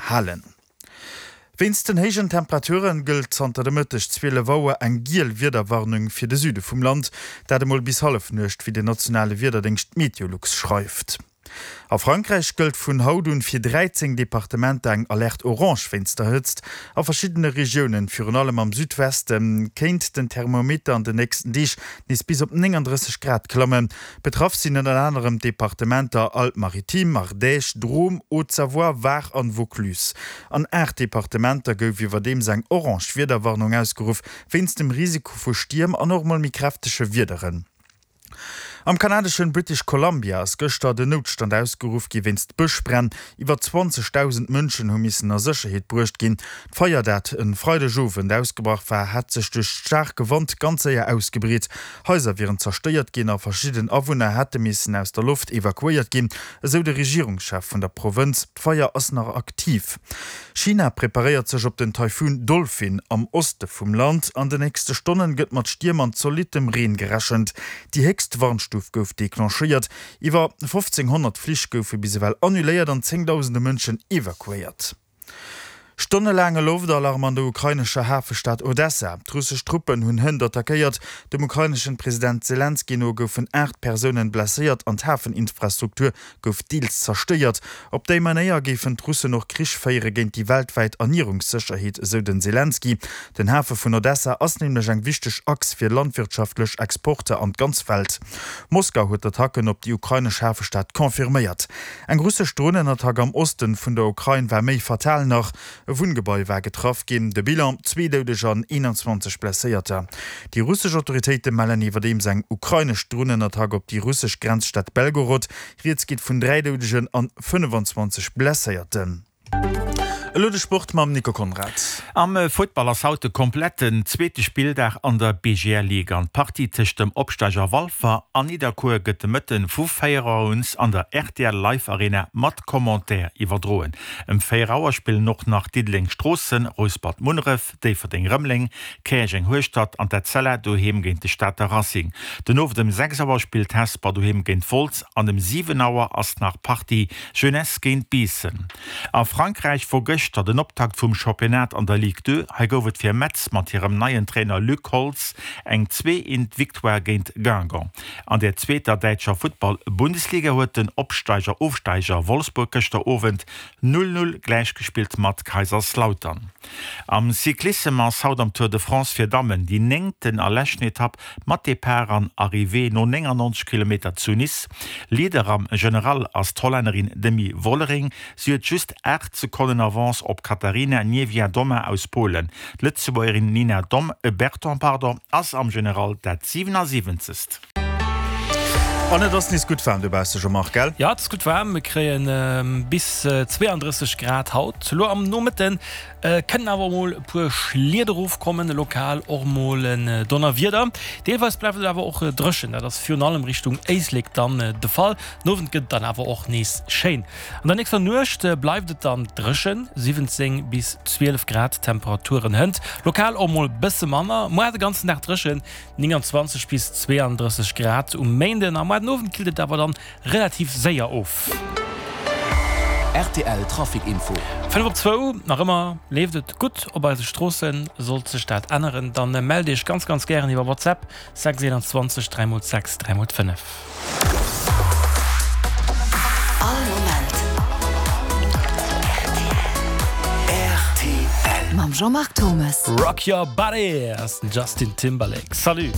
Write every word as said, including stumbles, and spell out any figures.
halen. Wéinst den héijen Temperature gëllt zanter de Mëtteg zwielef Auer eng giel Wiederwarnung fir de Süde vum Land, dat emol bis Hallefnuecht, wéi den nationale Wiederdéngscht Meteolux schreift. A Frankräich gëllt vun haut un fir dräizéng Departementer eng Alerte orange wéinst der Hëtzt. A verschiddene Regiounen, virun allem am Südweste, kéint den Thermometer an den nächsten Deeg nees bis op nénganddrësseg Grad klammen. Betraff sinn ënner anerem d'Departementer Alpes-Maritimes, Ardèche, Drôme, Haute-Savoie, Var an Vaucluse. An aacht Departementer gouf iwwerdeems eng orange Wiederwarnung ausgeruff, wéinst dem Risiko vu Stierm an och mol méi kräftege Wiederen. Am kanadeschen British Columbia ass gëschter den Noutstand ausgeruff gi wéinst Bëschbränn. Iwwer zwanzegdausend Mënschen hu missen a Sécherheet bruecht ginn. D'Feier, dat e Freidegowend ausgebrach war, hätt sech duerch staarke Wand ganz séier ausgebreet. Haiser wieren zerstéiert ginn a verschidden Awunner hätte missen aus der Loft evakuéiert ginn, esou de Regierungschef vun der Provënz. D'Feier ass nach aktiv. China preparéiert sech op den Taifun Dolphin am Oste vum Land. An den nächste Stonnen gëtt mat Stierm an zolittem Reen gerechent. Déi héchst Warnstuf gouf declenchéiert. Iwwer fofzénghonnert Flich goufe bis ewell annuléiert an zéngdausende Mënschen evakuéiert. Stonnelaange Loftalarm an der ukrainescher Hafestad Odessa. D'russesch Truppen hunn hënt attackéiert. Dem ukraineschen President Selenskyj no goufen aacht Persounen blesséiert an d'Hafeninfrastruktur gouf deels zerstéiert. Op déi Manéier géifen d'Russen och Krich féiere géint déi weltwäit Ernierungssécherheet, esou den Selenskyj. Den Hafe vun Odessa ass nämlech eng wichteg Achs fir landwirtschaftlech Exporter an d'ganz Welt. Moskau huet d'Attacken op déi ukrainesch Hafestad confirméiert. Eng russesch Dronenattack am Osten vun der Ukrain war méi fatal nach. E Wunngebai war getraff ginn. De Bilan, zwee Doudeger an eenanzwanzeg Blesséierter. Déi russesch Autoritéite mellen iwwerdeems eng ukrainesch Dronenattack op déi russesch Grenzstad Belgorod. Rieds geet vun dräi Doudegen an fënnefanzwanzeg Blesséierten. Elo de Sport mam Nico Conrad. Am Futtball ass haut de kompletten zweete Spilldag an der B G L Ligue an d'Partie tëscht dem Opsteiger Walfer an Nidderkuer gëtt de Mëtten vu véier Auer un an der R T L Live Arena mat Commentaire iwwerdroen. Ëm véier Auer spillen och nach Diddeleng Stroossen, Rouspert Munneref, Déifferdeng Rëmeleng, Käerjeng Hueschtert an d'Etzella doheem géint de Stater Racing. Den Owend ëm sechs Auer spillt Hesper doheem géint Wolz an ëm siwen Auer ass nach d'Partie Jeunesse géint Biissen. A Frankräich wor gëschter den Optakt vum Championnat an der Ligue deux. Hei gouf et fir Metz mat hirem neien Trainer Luc Holtz eng zwee eent Victoire géint Guingamp. An der zweeter däitscher Futtball-Bundesliga huet den Opsteiger-Ofsteiger Wolfsburg gëschter Owend null null gläichgespillt mat Kaiserslautern. Am Cyclissem ass haut am Tour de France fir Dammen déi néngten a leschten Etapp mat Depart an Arrivée no néngannonzeg Kilometer zu Nice. Leader am General ass d'Hollännerin Demi Vollering. Si huet just aacht Sekonnen Avance op d'Katarzyna Niewiadoma aus Polen. D'Lëtzebuergerin Nina Berton ass am General dat siwenasiwwenzegst. An et ass nees gutt waarm dobausse, Jean-Marc, gell? Jo, et ass gutt waarm. Mir kréie bis zweeandrësseg Grad haut. Elo am Nomëtte kënnen awer mol e puer Schliet erofkommen, lokal och mol en Donnerwieder. Deelweis bleift et awer och dréchen, dat ass virun allem Richtung Éislek dann de Fall. Den Owend gëtt et dann awer och nees schéin. An der nächster Nuecht bleift et dann dréchen, siwwenzéng bis zwielef Grad Temperaturen hënt, lokal och mol bësse manner. Muer de ganzen Dag dréchen, nénganzwanzeg bis zweeandrësseg Grad um Méinden a muer den Owend killt et awer dann relativ séier of. R T L Trafic Info. Fënnef op zwou, nach ëmmer leeft et gutt op eise Stroossen. Sollt sech dat änneren, dann mellt iech ganz ganz gären iwwer WhatsApp, sechs eenanzwanzeg dräi mol sechs dräi mol fënnef. All Moment R T L. Mam Jean-Marc Thomes. Rock Your Body ass den Justin Timberlake. Salut!